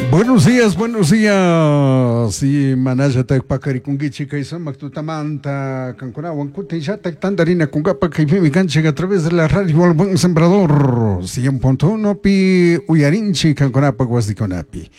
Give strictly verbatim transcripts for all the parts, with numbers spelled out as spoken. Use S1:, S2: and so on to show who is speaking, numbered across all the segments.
S1: Buenos días, buenos días. Y manallatak pakarikunkichik kay sumak tutamanta kankunawan kutinllatak tantarinakunkapa kaypimi kanchik a través de la radio El Buen Sembrador cien punto uno pi uyarinchik kankunapak wasikunapi.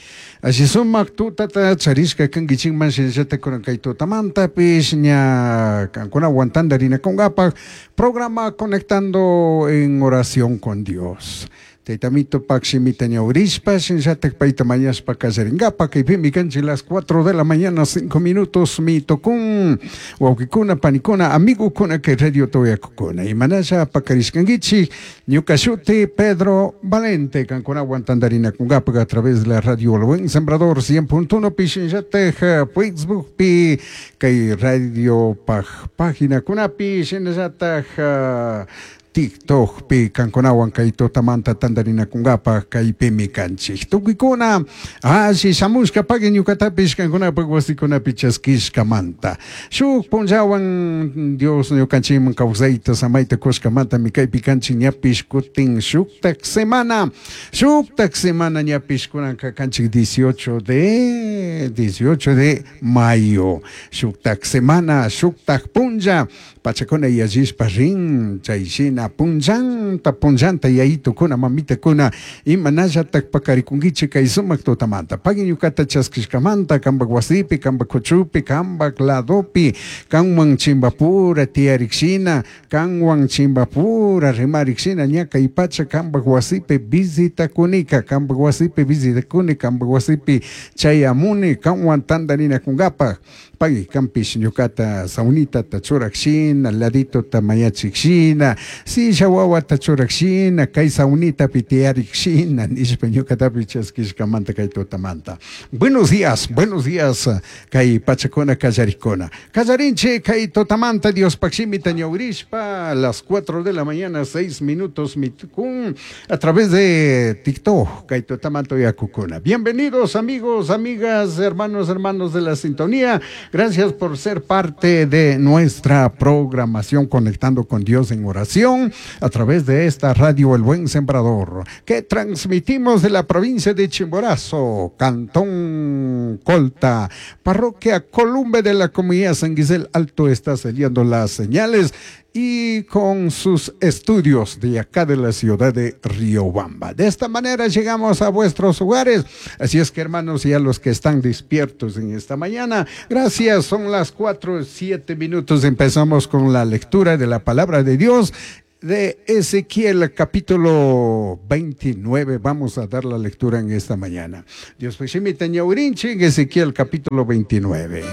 S1: Así sumak tutata charishka kankichikman shinallatak kunan kay tutamantapish ña kankunawan tantarinakunkapa programa Conectando en Oración con Dios. Taytamito pakshimita ñawrishpa, shinallatak payta mañashpa kallaringapa, kaypimi kanchik las cuatro de la mañana, cinco minutos, mi tocún, wawqikuna, panikuna, amigukuna, kay radio toyakukuna. Y manasha pakarishkankichik, ñuka shuti Pedro Valente, kankunawan tantarinakunkapa a través de la radio El Buen Sembrador cien punto uno, pi shinallatak Facebook pi, kay radio paj página kunapi, shinallatak TikTok pi kankunawan kay tutamanta tantarinakunkapa kaypimi kanchik. Tukuykuna alli shamushka pagui ñukatapish kankunapak wasikunapi chaskishkamanta. Shuk punllawan Dios ñukanchikman kawsayta samayta kushkamantami kaypi kanchik ñapish kutin shuktak semana. Shuktak semana ñapish kunanka kanchik dieciocho de dieciocho de mayo. Shuktak semana, shuktak punlla pachakuna yallishpa rin chay shina punllanta punllanta yayitukuna mamitakuna imanallatak pakarikunkichik kay sumak tutamanta. Pagui ñukata chaskishkamanta kampak wasipi, kampak kuchupi, kampak ladopi, kanwan chimbapura tiyarikshina, kanwan chimbapura rimarikshina ña kay pacha kampak wasipi visitakunika, kampak wasipi visitakuni, kampak wasipi chayamuni, kanwan tantarinakunkapa. Pagui kampish ñukata saunitata churakshina, laditota mañachikshina, silla wawata churakshina, kay saunitapi tiyarikshina, nishpa ñukatapi chaskishkamanta kay tutamanta. Buenos días, buenos días, kay pachakuna kallarikuna. Kallarinchik kay tutamanta Dios pakshimita ñawrishpa, a las cuatro de la mañana, seis minutos mitukun, a través de TikTok, kay tutamanta yakukuna. Bienvenidos amigos, amigas, hermanos, hermanos de la sintonía. Gracias por ser parte de nuestra programación Conectando con Dios en Oración a través de esta radio El Buen Sembrador, que transmitimos de la provincia de Chimborazo, Cantón Colta, Parroquia Columbe de la Comunidad San Guisel Alto. Está saliendo las señales y con sus estudios de acá de la ciudad de Riobamba. De esta manera llegamos a vuestros hogares. Así es que, hermanos, y a los que están despiertos en esta mañana, gracias. Son las cuatro, siete minutos. Empezamos con la lectura de la palabra de Dios de Ezequiel capítulo veintinueve. Vamos a dar la lectura en esta mañana. Dios pues, en Ezequiel capítulo veintinueve.